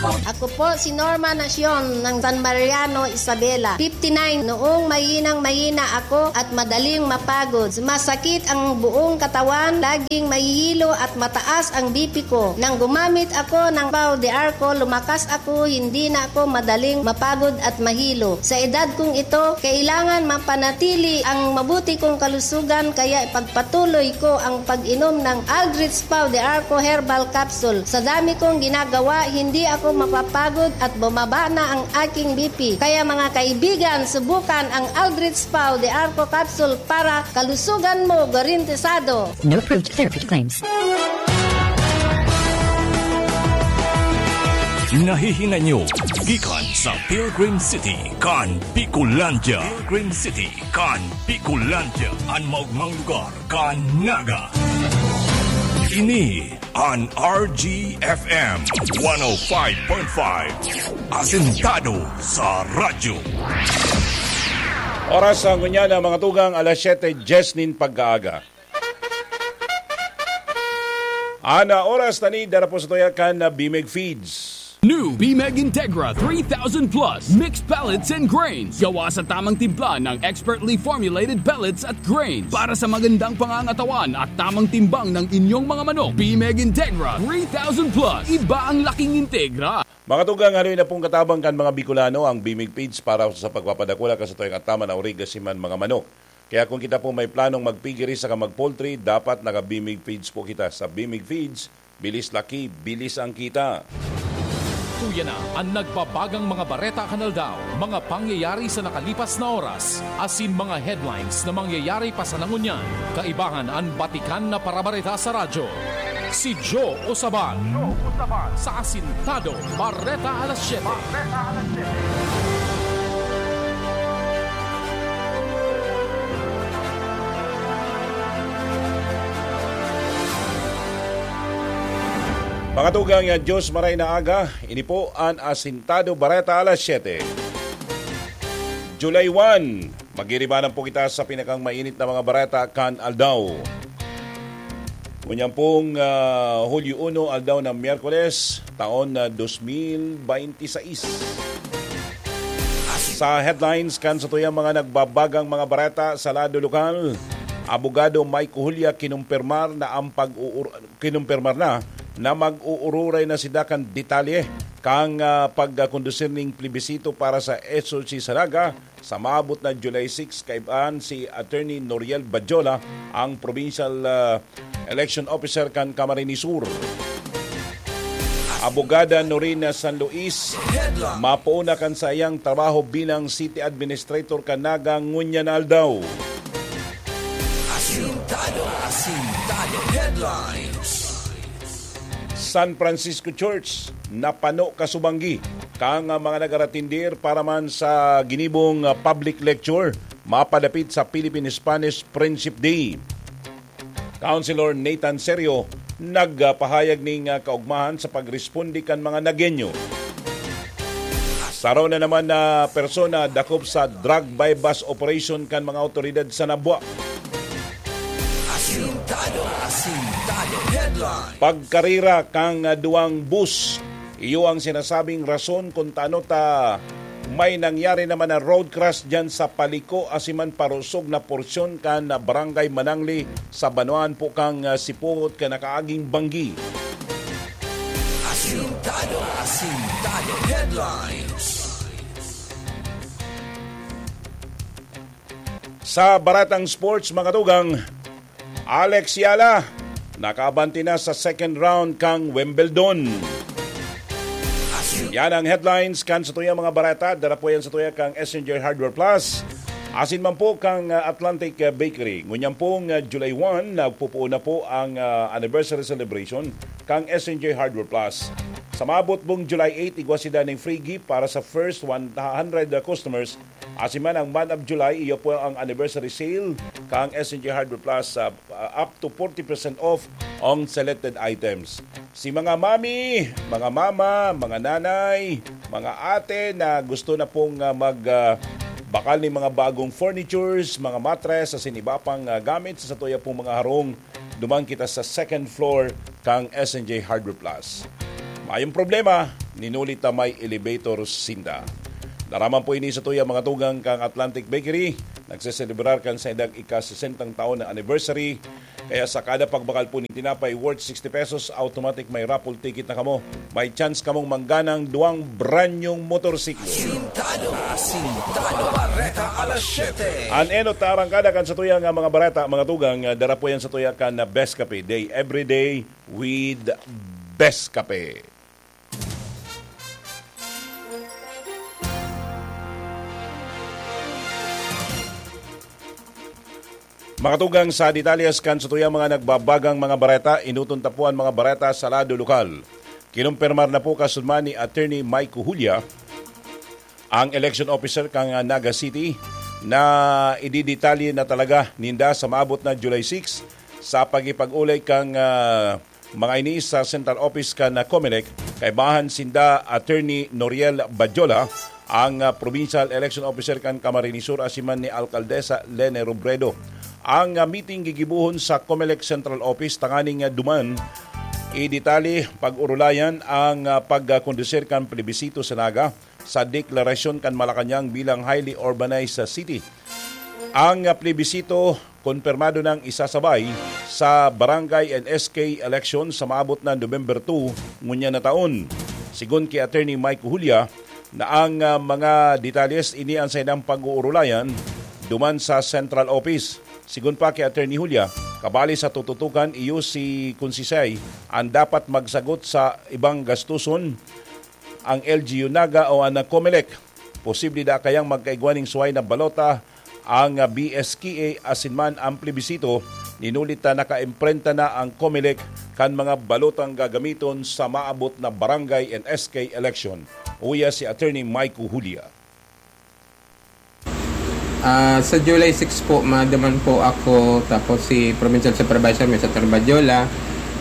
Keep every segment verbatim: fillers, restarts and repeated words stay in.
Ako po si Norma Nacion ng San Mariano, Isabela, fifty-nine. Noong mahinang-mahina ako at madaling mapagod, masakit ang buong katawan, laging mahihilo at mataas ang B P ko. Nang gumamit ako ng Pau de Arco, lumakas ako, hindi na ako madaling mapagod at mahilo. Sa edad kong ito, kailangan mapanatili ang mabuti kong kalusugan, kaya ipagpatuloy ko ang pag-inom ng Aldrich Pau de Arco Herbal Capsule. Sa dami kong ginagawa, hindi ako mapapagod at bumaba na ang aking B P. Kaya, mga kaibigan, subukan ang Aldrich Pau de Arco Capsule para kalusugan mo garantisado. No approved therapy claims. Nahihinay nyo gikan sa Pilgrim City kan Bicolandia. Pilgrim City kan Bicolandia, an maugmang lugar kan Naga. Ini an R G F M one oh five point five, asentado sa radyo. Oras sa ngunyan na, mga tugang, alas siyete dyes nin pagkaaga. Ana oras tani dara po sa tuya kan na Bimeg Feeds. New Bimeg Integra three thousand Plus Mixed Pellets and Grains. Gawa sa tamang timpla ng expertly formulated pellets at grains para sa magandang pangangatawan at tamang timbang ng inyong mga manok. Bimeg Integra three thousand Plus. Iba ang laking Integra. Mga tugang, haloy na pong katabang kan mga Bicolano ang Bimeg Feeds para sa pagpapadakula kan satuyang ataman na origa siman mga manok. Kaya kung kita po may planong magpigiri saka mag-poultry, dapat naka-Bimig Feeds po kita. Sa Bimig Feeds, bilis laki, bilis ang kita. Tuya na an nagbabagang mga bareta kan aldaw, mga pangyayari sa nakalipas na oras, asin mga headlines na mangyayari pa sana ngunyan. Kaibahan an batikan na parabareta sa radyo. Si Joe Osaban sa Asintado Bareta Alas Siyete. Mga tugang, ya Diyos maray na aga, ini po an Asintado Bareta Alas Siyete. July one, magiribanan po kita sa pinakang mainit na mga bareta kan aldaw. Ngunyan pong ah, Hulyo uno, aldaw na Miyerkules, taon na dos mil baynte sais. Sa headlines kan satuyang mga nagbabagang mga bareta sa lado lokal, Abogado Mike Julia kinumpirmar na ang pag-uur- kinumpirmar na na mag-uururay na sinda kan detalye kan ah, pagkondusir ning plebisito para sa S O C sa Naga sa maabot na July six. Kaibahan si Attorney Noriel Badjola, ang Provincial ah, Election Officer kan Camarines Sur. Abogada Norina San Luis, mapoon na kan saiyang trabaho bilang City Administrator kan Naga ngunyan na aldaw. Asintado, Asintado Headlines. San Francisco Church, napano kasubanggi kan mga nagaratindir para man sa ginibong ah, public lecture mapadapit sa Philippine-Spanish Friendship Day. Councilor Nathan Serio nagpahayag ning ah, kaugmahan sa pagresponde kan mga Nagueño. Saro na naman na persona dakop sa drug buy-bust operation kan mga awtoridad sa Nabua. Asintado, Asintado Headline. Pagkarira kan ah, duwang bus, iyo ang sinasabing rason kung tano ta may nangyari naman na road crash dyan sa Paliko, Asiman, parusog na porsyon kan ah, Barangay Manangli sa banwaan po kan ah, Sipot kan nakaaging banggi. Asintado, Asintado Headlines. Sa baratang sports, mga tugang, Alex Yala, nakaabante na sa second round kang Wimbledon. Yan ang headlines kan sa tuyang mga barata. Dara po yan sa tuya kang S N J Hardware Plus. Asin man po kang ah, Atlantic ah, Bakery. Ngunyan pong ah, July one, nagpupuon na po ang ah, anniversary celebration kang S N J Hardware Plus. Sa maabot pong July eight, igwa sila ning free gift para sa first one hundred customers. Asin man ang month of July, iyo po ang anniversary sale kang S N J Hardware Plus, ah, ah, up to forty percent off on selected items. Si mga mami, mga mama, mga nanay, mga ate na gusto na pong ah, mag ah, bakal ning mga bagong furnitures, mga mattress, asin iba pang ah, gamit sa satuya pong mga harong, duman kita sa second floor kang S N J Hardware Plus. Mayong problema, ninuli ta may elevator sinda. Naraman po ini sa tuya mga tugang kang Atlantic Bakery. Nagseselebrar kan sa edad ika-sesentang taon na anniversary. Kaya sa kada pagbakal po ni tinapay worth sixty pesos, automatic may raffle ticket na kamo. May chance kamong mangganang duwang brand new motorsiklo. Asintado, asintado, bareta alas siyete. An enot na arangkada kan sa tuya nga mga bareta, mga tugang, ah, dara po yan sa tuya kan na Best Kape Day. Every day with Best Kape. Mga tugang, sa detalyes kan sa tuyang mga nagbabagang mga bareta, inuton ta po an mga bareta sa lado lokal. Kinumpirmar na po kasunman ni Attorney Mike Julia, ang election officer kan, ah, Naga City, na ididetalye na talaga ninda sa maabot na July six sa pagipag-ulay kan, ah, mga ini sa central office kan, ah, Comelec, kaibahan sinda Attorney Noriel Badjola, ang, ah, provincial election officer kan Camarines Sur, asin man ni Alcaldesa Lene Robredo. Ang, ah, meeting gigibohon sa Comelec Central Office tanganing, ah, duman i detalye pag-orolayan ang, ah, pagkondusir kan plebisito sa Naga sa deklarasyon kan Malacañang bilang highly urbanized city. Ang plebisito, konpirmado nang isasabay sa barangay and S K election sa maabot na November two ngunyan na taon. Sigon ki Attorney Mike Julia, na ang, ah, mga detalyes ini an saindang pag-uurulayan duman sa Central Office. Sigon pa ki Attorney Julia, kabali sa tututukan iyo si Konsehal an dapat magsagot sa ibang gastuson, ang L G U Naga o ang Comelec. Posible da kayang magkaigwa ning suway na balota ang, ah, B S K A asin man ang plebisito, ninuli ta nakaimprenta na ang Comelec kan mga balotang gagamiton sa maabot na barangay and S K election. Uya si Attorney Mike Julia. Ah, sa July six po, maduman po ako, tapos si Provincial Supervisor, Mister Badjola,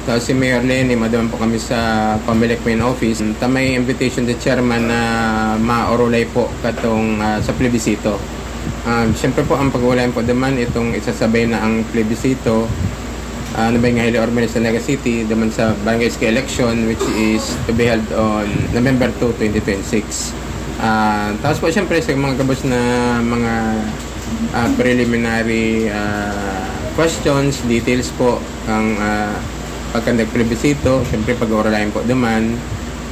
tapos si Mayor Lenny, maduman po kami sa Comelec Main Office. Ta may invitation sa chairman na maorolay po katong, ah, sa plebisito. Ah, siyempre po, ang pag-uulayan po duman, itong isasabay na ang plebisito, ah, ano ba yung highly urbanized sa Naga City, duman sa Barangay S K election, which is to be held on November two, twenty twenty-six. Ah, tapos po, siyempre, sa mga gabos na mga, ah, preliminary, ah, questions, details po, ang, ah, pagkandak plebisito, siyempre, pag-uurulayan po duman.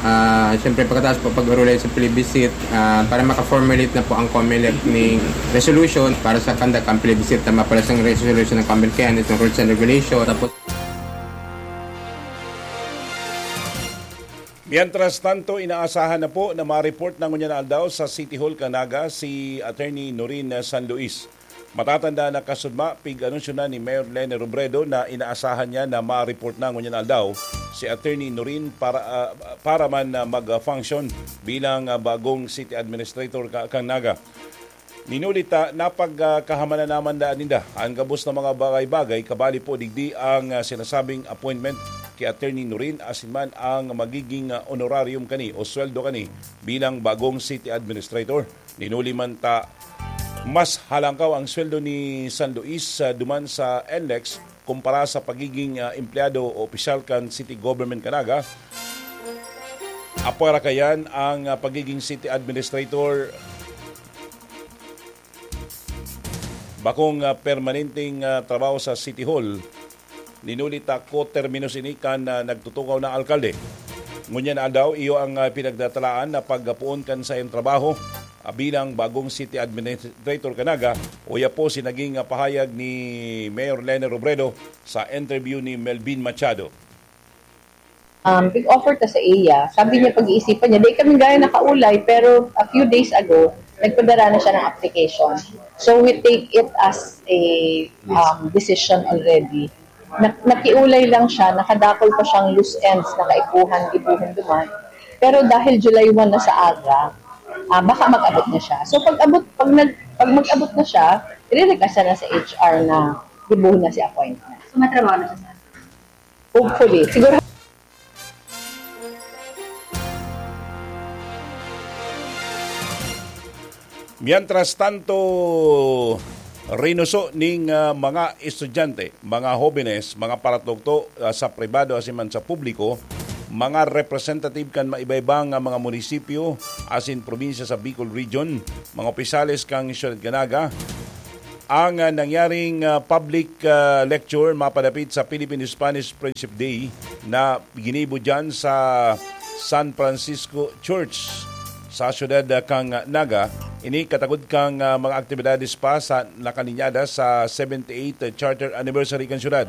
Ah, siyempre, pagkatapos po, pag-uurulayan sa plebisito, ah, para maka-formulate na po ang Comelec ni resolution para sa kandak ang plebisito, tama pala sa resolution ng Comelec, kaya itong rules and regulation. Tapos, Mientras tanto, inaasahan na po na ma-report na ngunyan na aldaw sa City Hall kan Naga si Attorney Norin San Luis. Matatanda na kasudma, pig-anunsyo na ni Mayor Lene Robredo na inaasahan niya na ma-report na ngunyan na aldaw si Attorney Norin para, ah, para man na mag-function bilang, ah, bagong city administrator ka, kan Naga. Minuli ta, napagkahamanan naman daan ninda an gabos na mga bagay-bagay, kabali po digdi ang, ah, sinasabing appointment ki Attorney Norin asin man ang magiging, ah, honorarium kani o sweldo kani bilang bagong city administrator. Minuli man ta, mas halangkaw ang sweldo ni San Luis, ah, duman sa NLEX kumpara sa pagiging, ah, empleyado o opisyal kan city government kan Naga. Apwera kayan ang, ah, pagiging city administrator, bakong, ah, permanenteng, ah, trabaho sa City Hall. Ninuli ta koterminos ini kan, ah, nagtutukaw na alkalde. Ngunyan na aldaw, iyo ang, ah, pinagdatalaan na paggapoon kan saiyang trabaho, ah, bilang bagong city administrator kan Naga. Uya po si naging, ah, pahayag ni Mayor Lene Robredo sa interview ni Melvin Machado. Um, big offer ta sa iya. Sabi niya, pag-iisipan niya. Di kami gaya nakaulay, pero a few days ago, nagpadara na siya ng application. So we take it as a um, decision already. Na, nakiulay lang siya, nakadakol pa siyang loose ends na kaipuhan, gibuhon duman. Pero dahil July one na sa aga, ah, baka mag-abot na siya. So pag-abot, pag, nag, pag mag-abot na siya, i-request na sa H R na gibuhon na si appointment. So matrabaho na siya sa Hopefully. Siguro. Mientras tanto, rinuso ning, ah, mga estudyante, mga hobenes, mga paratugto, ah, sa pribado asin man sa publiko, mga representative kan maiba-iba nga mga munisipyo asin probinsya sa Bicol Region, mga opisyales kan Syudad kan Naga. Ang, ah, nangyaring, ah, public, ah, lecture mapadapit sa Philippine-Spanish Friendship Day na ginibo diyan sa San Francisco Church sa siyudad, ah, kan Naga. Ini katagod kan, ah, mga aktibidades pa sa nakalinyada sa seventy-eighth Charter Anniversary kan siyudad.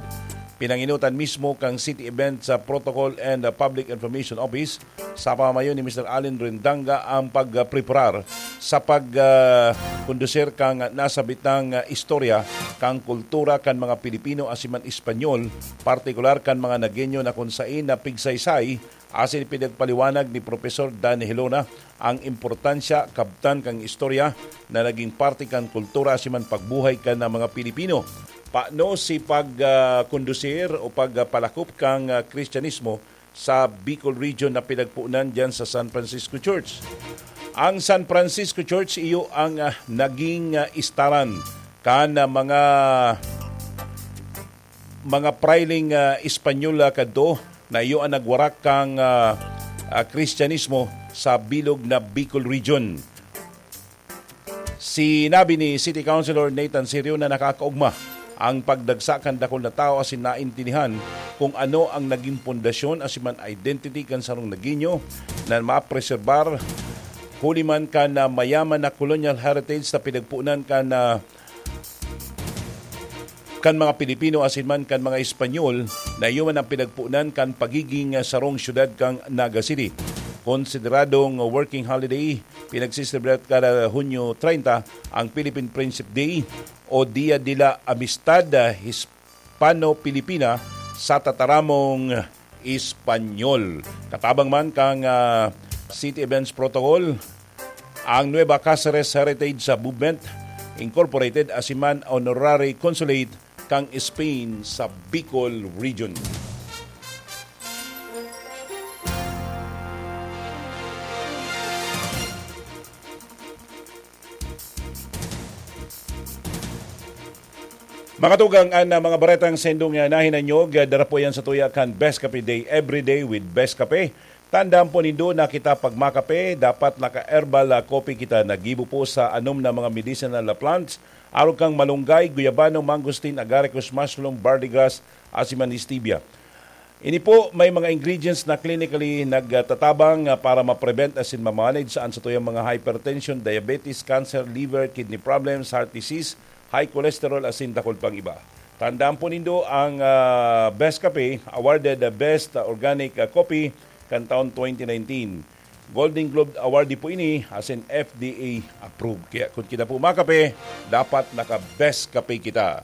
Pinanginutan mismo kan City Events, ah, Protocol and, ah, Public Information Office sa pamamayo ni Mister Allen Rendanga ang pagpreparar sa pag, ah, kondusir kan nasabitang, ah, istorya kan kultura kan mga Pilipino asin man Espanyol, partikular kan mga Nagueño na kun sain na pigsaysay asin pinagpaliwanag ni Professor Dan Helona ang importansya kabtan kan istorya na naging parte kan kultura asin man pagbuhay kan mga Pilipino. Paano si pag, ah, kondusir o pagpalakop kan, ah, Kristyanismo sa Bicol Region na pinagponan diyan sa San Francisco Church? Ang San Francisco Church iyo ang, ah, naging, ah, istaran kan, ah, mga mga prailing, ah, Espanyol, ah, kadto na iyo ang nagwarak kan, ah, ah, Kristyanismo sa bilog na Bicol Region. Sinabi ni City Councilor Nathan Serio na nakakaogma ang pagdagsa kan dakul na tawo asin naintindihan kung ano ang naging pundasyon asin man identity kan sarong Nagueño na mapreserbar huli man kan, ah, mayaman na colonial heritage na pinagponan kan, ah, kan mga Pilipino asin man kan mga Espanyol na iyo man ang pinagponan kan pagiging, ah, sarong siyudad kan Naga City. Konsideradong working holiday, pinagsiselebrad kada Hunyo treinta ang Philippine Friendship Day o Dia de la Amistad, ah, Hispano-Pilipina sa tataramong Espanyol. Katabang man kan, ah, City Events Protocol, ang Nueva Caceres Heritage Movement Incorporated asin man Honorary Consulate kan Spain sa Bicol Region. Mga tugang, an, ah, mga baretang sendong, ah, nahinanyog, ah, dara po yan sa tuya kan Best Cafe Day, Every Day with Best Cafe. Tandaan po nindo na kita pag makape, dapat naka-herbal, ah, coffee kita. Naggibo po sa anom na mga medicinal na plants, arog kang malunggay, guyabano, mangosteen, agaricus, mushroom, barley grass, asin man stevia. Ini po may mga ingredients na clinically nagtatabang, ah, para ma-prevent asin ma-manage an satuyang mga hypertension, diabetes, cancer, liver, kidney problems, heart disease, high cholesterol asin dakul pang iba. Tandaan po nindo ang, ah, Best Cafe, awarded the Best Organic, ah, Coffee kan taon twenty nineteen. Golden Globe Award po ini asin F D A approved. Kaya kung kita po makape, dapat naka-Best Cafe kita.